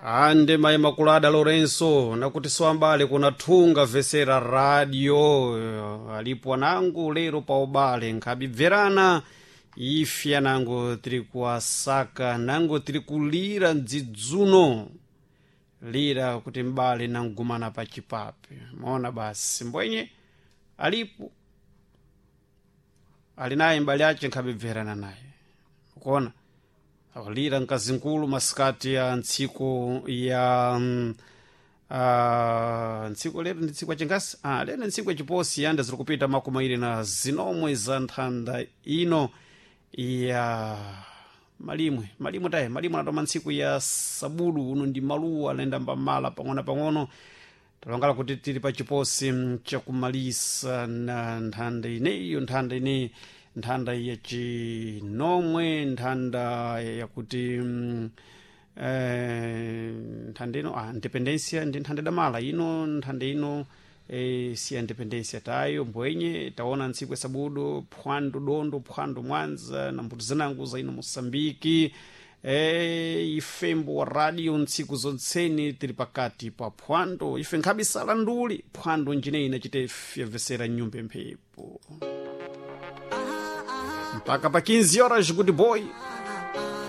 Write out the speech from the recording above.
Ande mayi Makulada Lorenso nakuti siwambale kuna thunga vesera radio alipo anangu lero pa ubale nkhabibverana ife anango tiri kuwasaka nango tiri kulira mdzidzuno lira kuti mbale nangumana pa chipape maona basi mbwenye alipo ali naye mbale ace nkhabibverana naye ukuona akulira mkazinkulu masikati ya ntsiku ya ntsiku lero ndi tsiku yachingasi lero ndi ntsiku yachiposi yanda ziri kupita makumi awiri na zinomwe za nthanda ino ya malimwe malimwe taye malimwe anatoma ntsiku ya sabudu uno ndi maluwa analenda mbamala pang'ono-pang'ono talongala kuti tili pa chiposi chakumalisa na nthanda ineyo nthanda ineyi nthanda yachinomwe nthanda yakuti nthanda ino independencia ndi nthanda idamala ino nthanda ino si ya independencia tayo mbwenye taona ntsiku ya sabudu phwando dondo phwando mwanza na mbuto zinango za ino moçambike ifembo wa radio ntsiku zontseni tili pakati pa phwando ife nkhabisala nduli phwando njineyi inachite fyavesera nyumba mphepo mpaka pa 15 horas good boy.